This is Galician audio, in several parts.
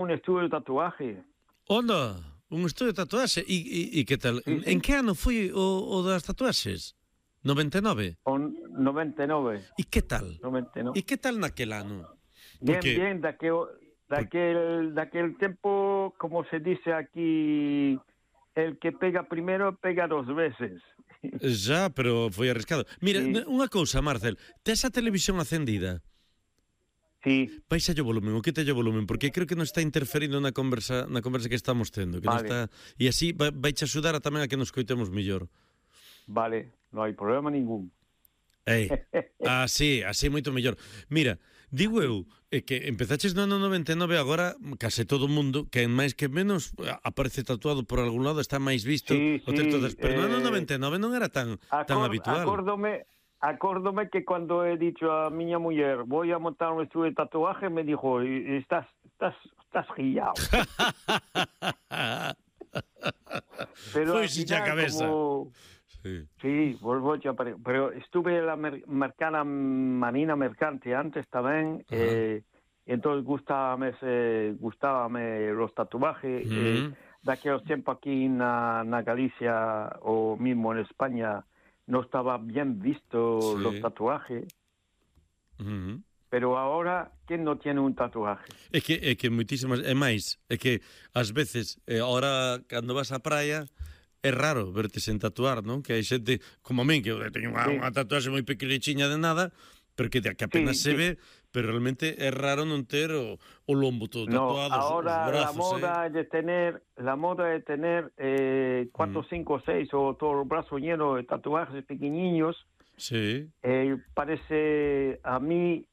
un estudio de tatuaje. Onda, un estudio de tatuaxe. E que tal? Sí, sí. En que ano foi o das tatuaxes? 99? O 99. E que tal? 99. E que tal naquel ano? Bien, Porque bien, daquel tiempo, como se dice aquí, el que pega primero pega dos veces. já, pero foi arriscado. Mira, Sí. unha cousa, Marcel, tes a televisión acendida? Sí, Baixa o volumen, o quita o volumen, porque creo que nos está interferindo na conversa que estamos tendo, que Vale. nos está e así vai che axudar a tamén a que nos coitemos mellor. vale, no hay problema ningún. Así moito mellor. Mira, digo eu que empezaches no ano 99, agora case todo o mundo, que máis que menos aparece tatuado por algún lado, está máis visto Sí, o texto sí, pero no ano 99 non era tan habitual. Acórdome que cuando he dicho a miña muller voy a montar un estudio de tatuaje, me dijo, estás guillao. Pero Foi si a cabeza. Sí, volvo a pero estuve en la Marina Mercante antes tamén, entonces gustábame los tatuajes, daqueles tiempos aquí na Galicia o mismo en España no estaba bien visto los tatuajes. Pero ahora, ¿quién no tiene un tatuaje? É que moitísimas, é máis, é que ás veces, ahora cando vas á praia, é raro verte sen tatuar, non? Que hai xente, como a min, que eu teño unha tatuaxe moi pequenichiña de nada, pero que apenas se ve, pero realmente é raro non ter o lombo todo tatuado, ahora os brazos, la moda de tener 4, 5, 6 o todo el brazo lleno de tatuajes pequeñiños. Sí. Parece a mí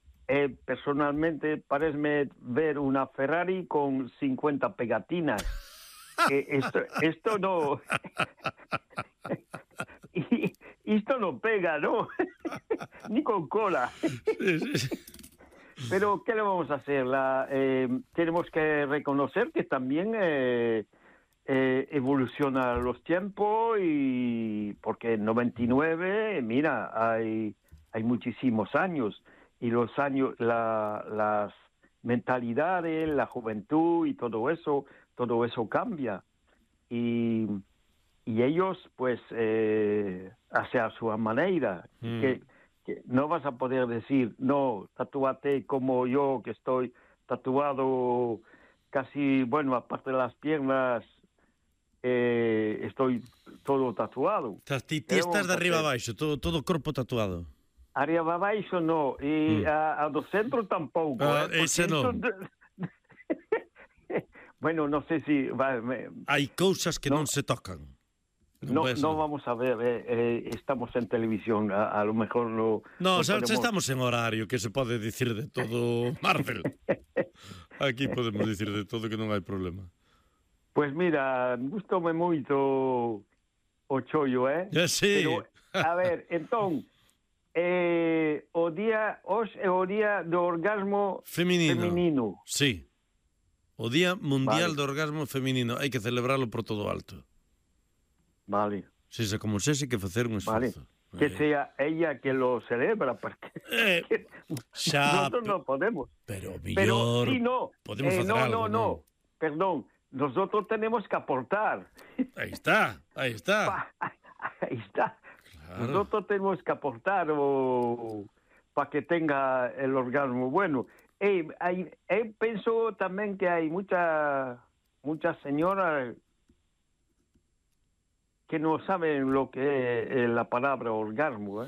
personalmente parece ver una Ferrari con 50 pegatinas. Esto no esto no pega, ¿no? Ni con cola. Sí. Pero ¿qué le vamos a hacer? Tenemos que reconocer que también evoluciona los tiempos, y porque en 99, mira, hay muchísimos años, y los años, las mentalidades, la juventud y todo eso cambia, y ellos pues hace a su manera, que no vas a poder decir, no, tatúate como yo, que estoy tatuado casi, bueno, aparte de las piernas, estoy todo tatuado. Ti estás de arriba abaixo, todo o corpo tatuado. Arriba abaixo no, e a do centro tampouco. Ese non. Bueno, non sei se... Hai cousas que non se tocan. No vamos a ver, estamos en televisión, a lo mejor no... No, estamos en horario, que se pode dicir de todo, Marcel. Aquí podemos dicir de todo, que non hai problema. Pues mira, gustoume moito o chollo, Sí. Pero, a ver, entón, hoxe é o día do orgasmo feminino. Sí. O Día Mundial do Orgasmo Feminino. Hai que celebralo por todo alto. Vale. Sexa como sexa, hai que facer un esforzo. Vale. Que sea ella que lo celebra, porque nosotros no podemos. Pero millor sí, no. podemos facer algo. No, perdón. Nosotros tenemos que aportar. Aí está. Ahí está. Claro. Nosotros tenemos que aportar para que tenga el orgasmo bueno. Pienso también que hay muchas señoras que no saben lo que es la palabra orgasmo,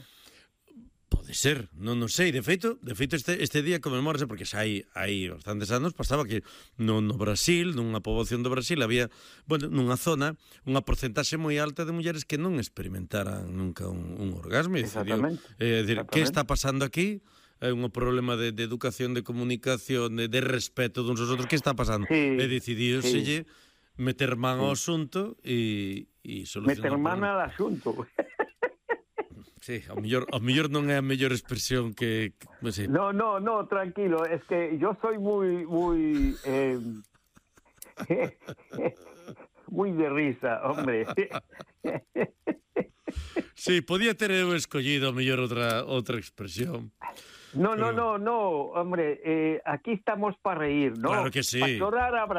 Pode ser, non sei. De feito este día conmemórase porque xa hai bastantes anos pasaba que no Brasil, nunha poboación do Brasil, había, bueno, nunha zona, unha porcentaxe moi alta de mulleres que non experimentaran nunca un orgasmo. Exactamente. Que está pasando aquí? É un problema de educación, de comunicación, de respeto duns aos outros. Que está pasando? Sí, e decidíoselle meter man ao asunto e solucionar. Meter man ao asunto. Sí, ao mellor non é a mellor expresión que sí. No, tranquilo, es que yo soy muy muy de risa, hombre. Sí, podía ter eu escollido a mellor outra expresión. No, hombre, aquí estamos para reír, ¿no? Claro que sí. Para llorar